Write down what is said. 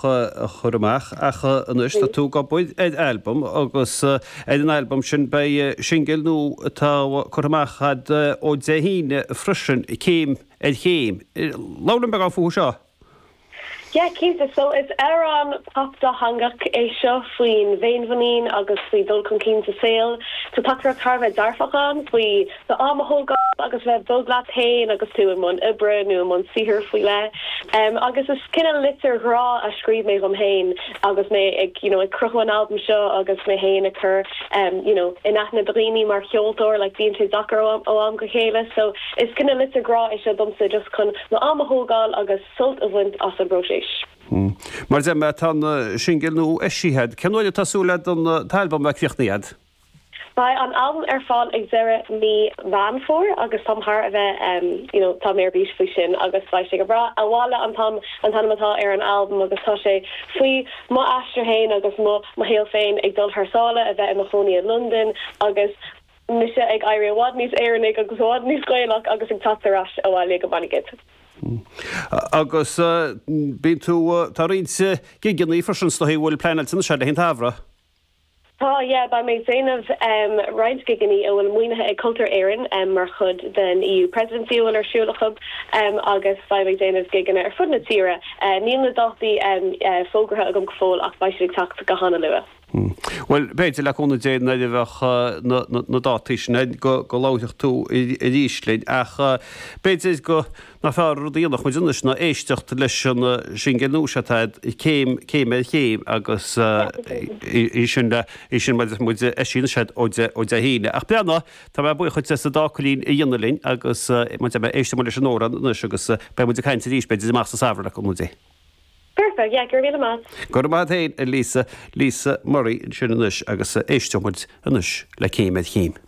A chur amach ach anois tá tú ag obair ar albam agus ar an albam sin beidh singil nua atá curtha amach agat ó Dé hAoine freisin, Céim ar Chéim. Labhair linn beagán fúthu seo. Yeah, cinnte. So is amhrán pop dátheangach é seo faoin bhféinmhuinín agus faoi dhul chun cinn sa saol. Tá teachtaireacht thar a bheith dearfach ann faoi d'am a thógáil agus bheith bog leat féin agus tú i mbun oibre nó i mbun saothair faoi leith. Agus is cineál litir ghrá a scríobh mé dhom féin agus mé ag you know ag cruthú an albaim seo agus mé féin ag cur you know in aithne do dhaoine mar cheoltóir like bíonn sé deacair ó ó am go chéile so is cineál litir grá é seo domsa just chun m'am a thógáil agus sult a bhaint as an bpróiseas. Mar a deir mé tá an singil nua eisithe agat. Cén uair atá súil agat an t-albam a bheith críochnaithe agat? Beidh an albam ar fáil ag deireadh mí Mheán Fómhair agus táim thar a bheith you know tá mé ar bís faoi sin agus beidh sé go breá. Abhaile an t-am an t-ainm atá ar an albam agus tá sé faoi mo aistear féin agus mo mo shaol féin ag dul thar sáile, a bheith i mo chónaí i Londain agus mise ag éirí i bhfad níos Éireannaigh agus i bhfad níos Gaelach agus ag teacht ar ais abhaile go Monaghan. Agus bíonn tú, tá roinnt gigeanna freisin is dóigh a bhfuil pleanáilte anois agat le haghaidh an tsamhraidh. Tá, yeah, beidh mé ag déanamh roinnt gigeanna a bhfuil maoinithe ag Cultúr Éireann mar chuid den EU Presidency a bhfuil ar siúl acu agus beidh mé ag déanamh gigeanna ar fud na tíre. Níl na dátaí fógartha agam go fóill ach beidh siad ag teacht go hana-luath. Bhuel, b'fhéidir le cúnamh Dé nuair a bheadh na dátaí sin ann go labharfadh tú arís linn ach b'fhéidir go nach fearr rud a dhéanfadh muid anois ná éisteacht leis an singil nua seo atá agat, Céim, Céim ar Chéim agus í sin le, í sin mar a deir muid eisithe anois agat ó Dé, ó Dé hAoine. Ach breathnaigh, tá mé buíoch duit as an dá cailín a dhéanamh linn agus mar a deir mé, éistfidh muid leis an amhrán anois agus beidh muid ag caint arís b'fhéidir amach sa samhradh le cúnamh Dé. Perfect, yeah, go raibh míle maith. Go raibh maith agat féin, a Lisa, Lisa Murray ansin anois agus éistfidh muid anois le Céim ar Chéim.